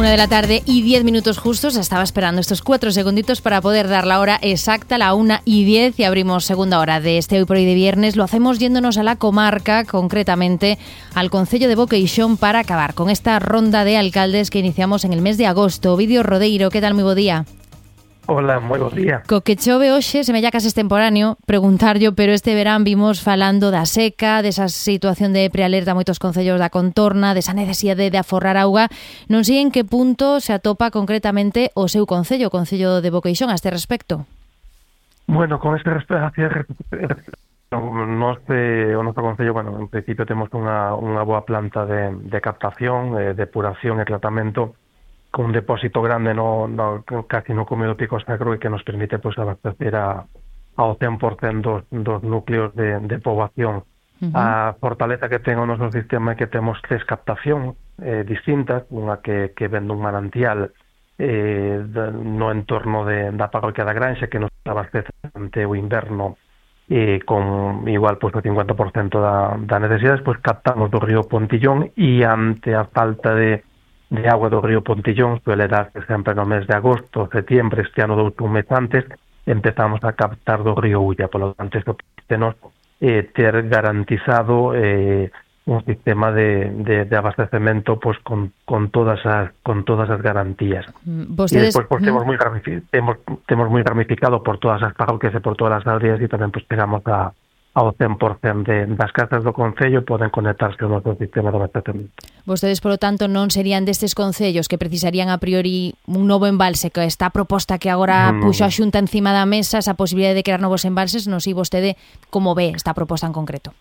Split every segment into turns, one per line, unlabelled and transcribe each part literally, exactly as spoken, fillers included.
Una de la tarde y diez minutos justos. Estaba esperando estos cuatro segunditos para poder dar la hora exacta, la una y diez, y abrimos segunda hora de este Hoy por Hoy de viernes. Lo hacemos yéndonos a la comarca, concretamente al concello de Boqueixón, para acabar con esta ronda de alcaldes que iniciamos en el mes de agosto. Ovidio Rodeiro, ¿qué tal? Muy bo día.
Hola, moi bo día.
Co que chove hoxe, se me ya case extemporáneo preguntar yo, pero este verán vimos falando da seca, desa situación de prealerta a moitos concellos da contorna, desa necesidade de aforrar auga. Non sei en que punto se atopa concretamente o seu concello, o concello de Boqueixón, a este respecto.
Bueno, con este respecto, nos, eh, o noso concello, bueno, en principio temos unha, unha boa planta de, de captación, eh, depuración e tratamento, con un depósito grande no, no casi no Cumio do Pico Sacro, e que nos permite pues abastecer a, ao cen por cento dos, dos núcleos de, de poboación. Uh-huh. A fortaleza que ten o noso sistema é que temos tres captación eh, distintas, unha que, que vende un manantial eh, de, no entorno de, da parroquia da Granxa, que nos abastece ante o inverno eh, con igual pues, o cincuenta por cento da, da necesidade. Despois captamos do río Pontillón, e ante a falta de de agua do río Pontillón, suele darse sempre no mes de agosto, setiembre, este ano dous un mes antes, empezamos a captar do río Ulla. Por lo tanto, isto tenos eh, ter garantizado eh, un sistema de, de, de abastecemento pues, con, con, todas as, con todas as garantías.
Vostedes...
E despois pues, temos, moi temos, temos moi ramificado por todas as parroquias e por todas as aldeas, e tamén pues, pegamos a ao cen por cento de, das casas do concello poden conectarse ao noso sistema de abastecemento.
Vostedes, polo tanto, non serían destes concellos que precisarían a priori un novo embalse, que está a proposta que agora no, puxo a Xunta encima da mesa, esa posibilidade de crear novos embalses. Non sei vostede como ve esta proposta en concreto.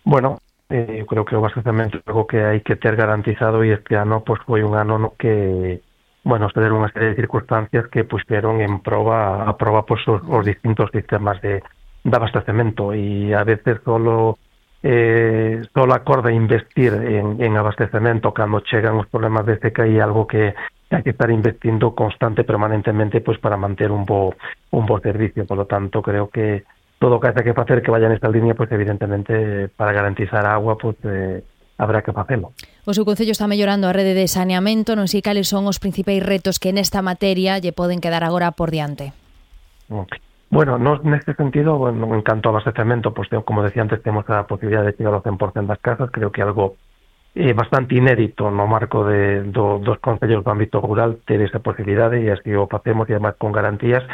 Bueno, eh, eu creo que o abastecemento é algo que hai que ter garantizado, e este ano pues, foi un ano no que bueno, se deron unha serie de circunstancias que puxeron en proba a proba pues, os, os distintos sistemas de de abastecemento, e a veces solo eh, solo acorda investir en, en abastecemento cando chegan os problemas de seca, e algo que hai que estar investindo constante, permanentemente, pues para manter un bo un bo servicio. Por lo tanto, creo que todo o que hai que facer que vaya nesta línea, pues evidentemente para garantizar a agua, pues eh, habrá que facelo.
O seu concello está mellorando a rede de saneamento. Non sei cales son os principais retos que nesta materia lle poden quedar agora por diante.
Okay. Bueno, nos neste sentido, bueno, en canto ao abastecemento, pues, como decía antes, temos a posibilidade de chegar ao cen por cento das casas. Creo que é algo eh, bastante inédito no marco de, do, dos concellos do ámbito rural ter esa posibilidade, e así o facemos, e además con garantías.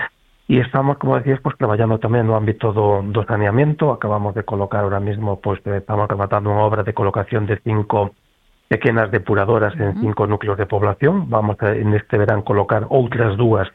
E estamos, como decías, pues, traballando tamén no ámbito do, do saneamento. Acabamos de colocar ahora mismo, pues, estamos rematando unha obra de colocación de cinco pequenas depuradoras en cinco núcleos de población. Vamos a, en este verán, colocar outras dúas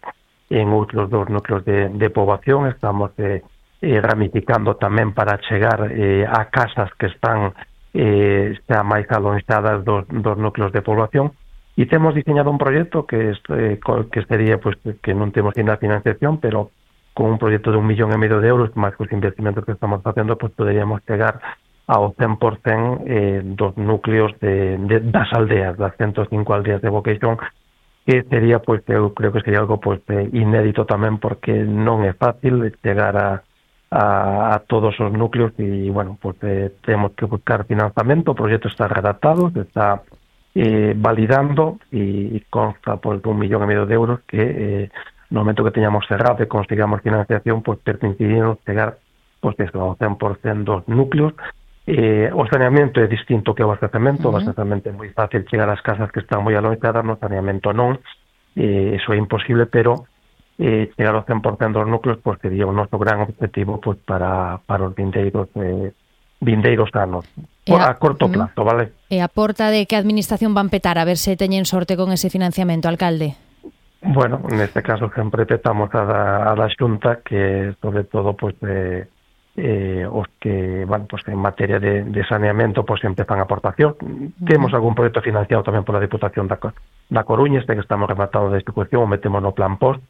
en outros dos núcleos de, de poboación. Estamos eh, eh, ramificando tamén para chegar eh, a casas que están eh, xa máis alonxadas dos, dos núcleos de poboación, e temos diseñado un proxecto que, eh, que sería, pues, que non temos ainda financiación, pero con un proxecto de un millón e medio de euros, máis que os investimentos que estamos facendo, pues poderíamos chegar ao cen por cento eh, dos núcleos de, de, das aldeas, das ciento cinco aldeas de Boqueixón, que sería, pues, eu creo que sería algo pues, eh, inédito tamén, porque non é fácil chegar a, a, a todos os núcleos, e, bueno, pues, eh, temos que buscar financiamento. O proxecto está redactado, se está eh, validando, e, e consta pues, de un millón e medio de euros que eh, no momento que teñamos cerrado e consigamos financiación, pues, permitiríamos chegar pues, eso, ao cen por cento dos núcleos. Eh, o saneamento é distinto que o abastecemento. Uh-huh. O abastecemento é moi fácil chegar ás casas que están moi alonxadas, no saneamento non. Eh, eso é imposible, pero eh, chegar ao cen por cento dos núcleos pues, sería o noso gran objetivo pues, para, para os vindeiros eh, vindeiros anos, a, a corto plazo, uh-huh. vale?
E a porta de que a administración van petar a ver se teñen sorte con ese financiamento, alcalde?
Bueno, neste caso sempre petamos a da, a da Xunta, que sobre todo pues, eh, Eh, os que van pues, en materia de, de saneamento pues empezan a aportación. Uh-huh. Temos algún proxecto financiado tamén pola Diputación da, da Coruña, este que estamos rematando de execución, o metemos no plan post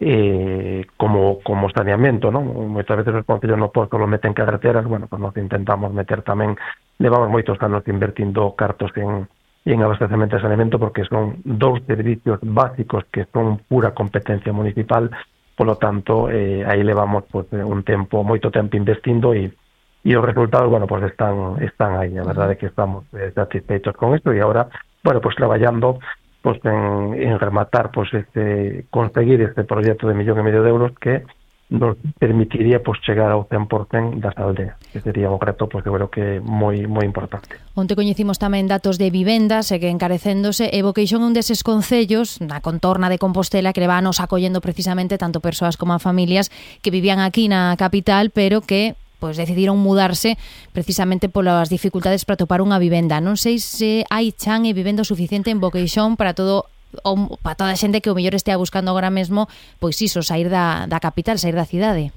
eh, como, como saneamento, non? Moitas veces os concellos no post lo meten carreteras. Bueno, pues nos intentamos meter tamén, levamos moitos anos invertindo cartos en, en abastecemento e saneamento, porque son dous servicios básicos que son pura competencia municipal. Por lo tanto, eh, aí levamos pues, un tempo, moito tempo investindo, e, e os resultados, bueno, pues están están aí. A verdade é que estamos eh, satisfeitos con isto, e agora, bueno, pues traballando pues en, en rematar, pues este, conseguir este proyecto de millón e medio de euros que nos permitiría pues chegar ao cen por cen das aldeas, que sería un reto pues eu creo que moi moi importante.
Onte coñecimos tamén datos de vivendas e que encarecéndose e Boqueixón é un deses concellos na contorna de Compostela que levános acollendo precisamente tanto persoas como a familias que vivían aquí na capital, pero que pois decidiron mudarse precisamente polas dificultades para topar unha vivenda. Non sei se hai chan e vivenda suficiente en Boqueixón para todo o, para toda a xente que o mellor estea buscando agora mesmo, pois iso, sair da, da capital, sair da cidade.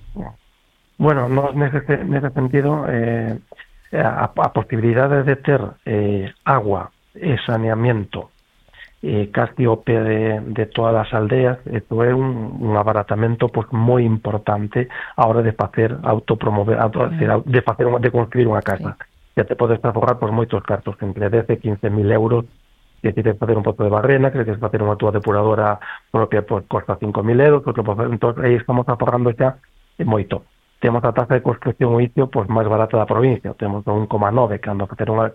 Bueno, no, nese, nese sentido, eh, a, a posibilidade de ter eh, agua e saneamiento eh, casi o pé de, de todas as aldeas, isto é un, un abaratamento pues, moi importante a hora de facer autopromover, auto, mm. de facer de construir unha casa. Sí. Ya te podes aforrar por moitos cartos, entre dez e quince mil euros. Que si queres facer un pozo de barrena, que si queres facer unha túa depuradora propia, pues, costa cinco mil euros, pues, entón, aí estamos aforrando xa moito. Temos a taxa de construcción o inicio pues, máis barata da provincia, temos un coma nove, cando facer unha,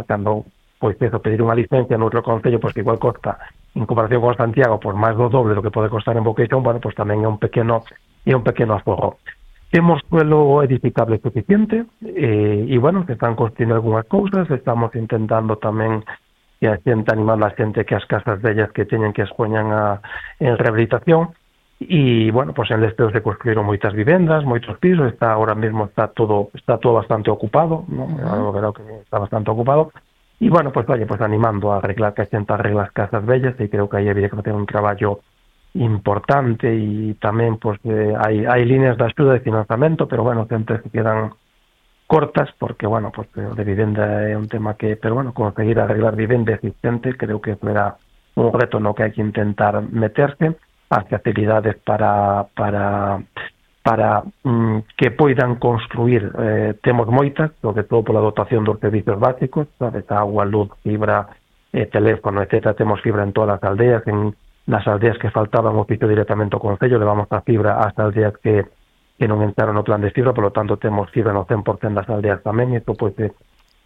cando pois eso, pedir unha licencia no outro concello, pois que igual costa, en comparación con Santiago, por máis do doble do que pode costar en Boqueixón, bueno, pois tamén é un pequeno, é un pequeno aforro. Temos suelo edificable suficiente, e, e bueno, se están construindo algunhas cousas, estamos intentando tamén que a xente, animando a xente que as casas dellas que teñen que as poñan a, en rehabilitación, e, bueno, pues en Lesteo se construíron moitas vivendas, moitos pisos, está ahora mesmo está todo está todo bastante ocupado, ¿no? Uh-huh. Verá que está bastante ocupado, e, bueno, pues, vaya, pues animando a arreglar, que a xente arregla as casas bellas, e creo que aí había que facer un traballo importante, e tamén, pues, eh, hai, hai líneas de axuda de financiamento, pero, bueno, sempre se quedan cortas, porque, bueno, pues de vivenda é un tema que, pero, bueno, conseguir arreglar vivenda existente creo que fuera un reto no que hai que intentar meterse, as facilidades para para para mm, que poidan construir, eh, temos moitas, sobre todo pola dotación dos servicios básicos, sabes, agua, luz, fibra, eh, teléfono, etcétera, temos fibra en todas as aldeas, en nas aldeas que faltaban o piso directamente ao concello, levamos a fibra ás aldeas que que non entraron no plan de fibra, por lo tanto temos fibra no cen por cen das aldeas tamén, isto pois pues,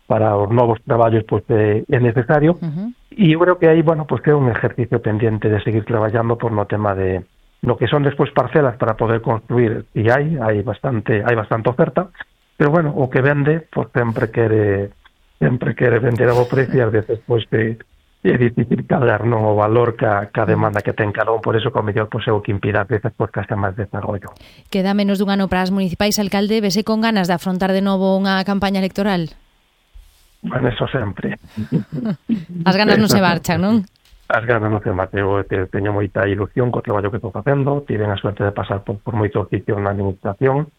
para os novos traballos pois pues, é necesario, uh-huh. E eu creo que aí, bueno, pois pues, que é un ejercicio pendiente de seguir traballando por no tema de no que son despois parcelas para poder construir, e hai, hai bastante, hai bastante oferta, pero bueno, o que vende, pois pues, sempre quere sempre quere vender a bo precio, e ás veces pois pues, é difícil cadrar non o valor ca, ca demanda que ten cada un, por eso que o mellor pois, é o que impida a veces pois, que haxa máis desarrollo.
Queda menos dun ano para as municipais, alcalde, vese con ganas de afrontar de novo unha campaña electoral?
Bueno, eso sempre.
As ganas non se marchan, non?
As ganas non se marchan. Eu teño moita ilusión co traballo que estou facendo, tive a suerte de pasar por, por moitos sitios na administración,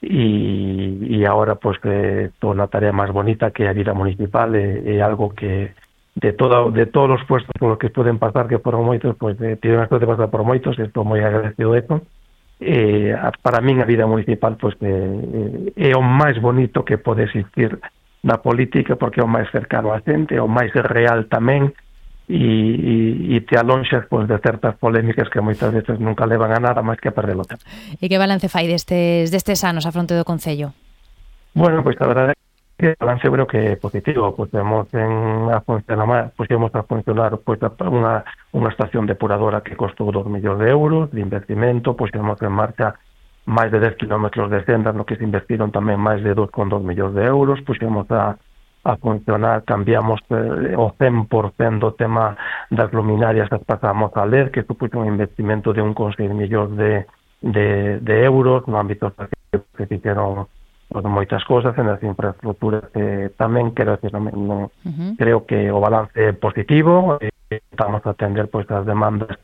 e, e agora pois, que estou na tarea máis bonita que a vida municipal, é, é algo que de todo, de todos os puestos por los que pueden pasar, que foron moitos, pois pues, eh, tiven a suerte de pasar por moitos, e estou moi agradecido de eso. Eh, para min a vida municipal pois pues, eh, é o máis bonito que pode existir na política, porque é o máis cercano a xente, é o máis real tamén, e, e, e te alonxas pois, de certas polémicas que moitas veces nunca levan a nada máis que a perder o tempo.
E que balance fai destes, destes anos a fronte do Concello?
Bueno, pois pues, a verdade que o balance creo que é positivo, pois temos en a funcionar, pois temos a funcionar pois unha unha estación depuradora que costou dos millóns de euros de investimento, pois temos en marcha máis de dez kilómetros de sendas no que se investiron tamén máis de dos coma dos millóns de euros, pois temos a a funcionar, cambiamos eh, o cen por cen do tema das luminarias, as pasamos a L E D, que supuxo un investimento de un coma seis millóns de, de, de euros no ámbito que se fixeron pues, moitas cousas en as infraestructuras, eh, tamén quero decir, non, non, uh-huh. creo que o balance é positivo, eh, estamos a atender pois as demandas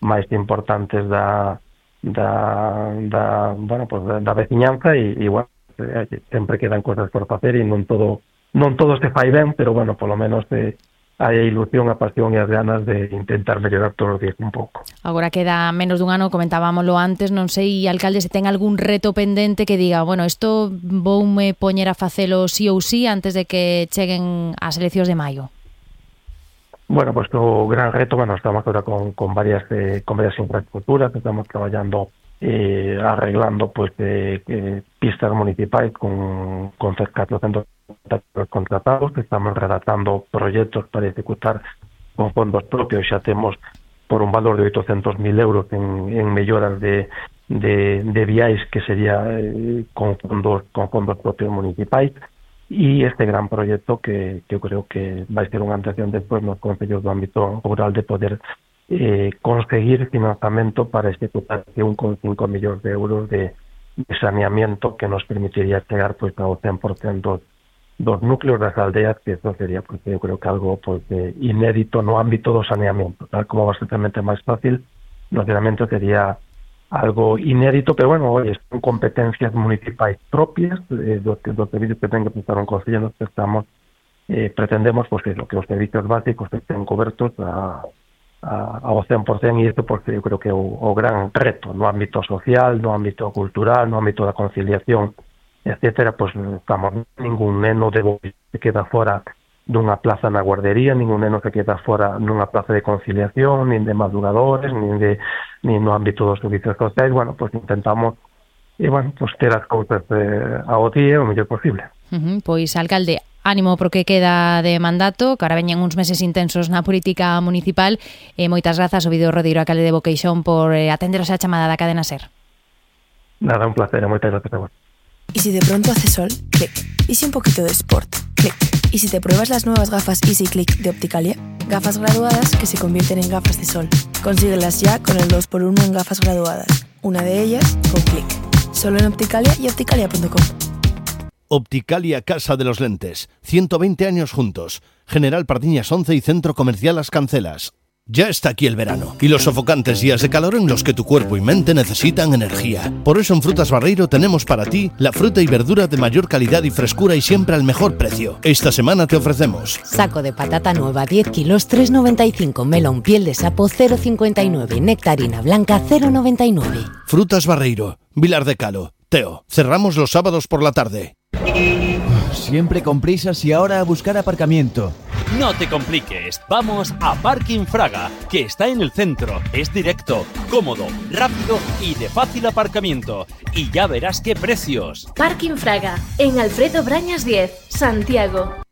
máis importantes da da, da bueno, pues, da, da veciñanza, e, e bueno, eh, sempre quedan cousas por facer, e non todo non todo se fai ben, pero bueno, polo menos eh, hai a ilusión, a pasión e as ganas de intentar mellorar todos os días un pouco.
Agora queda menos dun ano, comentábamoslo antes, non sei, alcalde, se ten algún reto pendente que diga, bueno, isto voume poñer a facelo sí ou sí antes de que cheguen as eleccións de maio.
Bueno, pues o gran reto, bueno, estamos ahora con, con varias eh, con varias infraestructuras, estamos traballando eh, arreglando pues eh, eh, pistas municipais con, con catorcentos contratados, estamos redactando proyectos para ejecutar con fondos propios xa temos por un valor de oitocentos mil euros en, en melloras de, de, de viais que sería eh, con fondos con fondos propios municipais, e este gran proxecto que, que eu creo que vai ser unha atención despois nos concellos do ámbito rural de poder eh, conseguir financiamento para executar un coma cinco millóns de euros de, de saneamiento que nos permitiría chegar pois ao cen por ciento dos núcleos das aldeas, que eso sería, porque eu creo que algo pues, eh, inédito no ámbito do saneamento, tal como bastante máis fácil, no saneamento sería algo inédito, pero bueno, oye, son competencias municipais propias eh, dos, dos servicios que ten que prestar un concello, nos estamos eh, pretendemos pues, que, que os servicios básicos estén cobertos a, a, ao cen por cen, e isto porque eu creo que é o, o gran reto no ámbito social, no ámbito cultural, no ámbito da conciliación, etcétera, pues estamos, ningún neno de Bois se queda fora dunha plaza na guardería, ningún neno se queda fora nunha plaza de conciliación, nin de madrugadores, nin de nin no ámbito dos servicios sociais. Bueno, pues intentamos e, bueno, pues ter as cousas eh, ao día o mellor posible.
Uh-huh. Pois, alcalde, ánimo porque queda de mandato, que ahora veñen uns meses intensos na política municipal, e moitas grazas, Ovidio Rodeiro, alcalde de Boqueixón, por eh, atenderos a chamada da cadena SER.
Nada, un placer, moitas gracias a vos.
Y si de pronto hace sol, clic. Y si un poquito de sport, clic. Y si te pruebas las nuevas gafas Easy Click de Opticalia, gafas graduadas que se convierten en gafas de sol. Consíguelas ya con el dos por uno en gafas graduadas. Una de ellas con clic. Solo en Opticalia y opticalia punto com.
Opticalia Casa de los Lentes. ciento veinte años juntos. General Pardiñas once y Centro Comercial Las Cancelas. Ya está aquí el verano y los sofocantes días de calor en los que tu cuerpo y mente necesitan energía. Por eso en Frutas Barreiro tenemos para ti la fruta y verdura de mayor calidad y frescura y siempre al mejor precio. Esta semana te ofrecemos
saco de patata nueva diez kilos tres noventa y cinco, melón piel de sapo cero cincuenta y nueve, nectarina blanca cero noventa y nueve.
Frutas Barreiro, Vilar de Calo. Teo, cerramos los sábados por la tarde.
Siempre con prisas y ahora a buscar aparcamiento.
No te compliques, vamos a Parking Fraga, que está en el centro, es directo, cómodo, rápido y de fácil aparcamiento. Y ya verás qué precios.
Parking Fraga, en Alfredo Brañas diez, Santiago.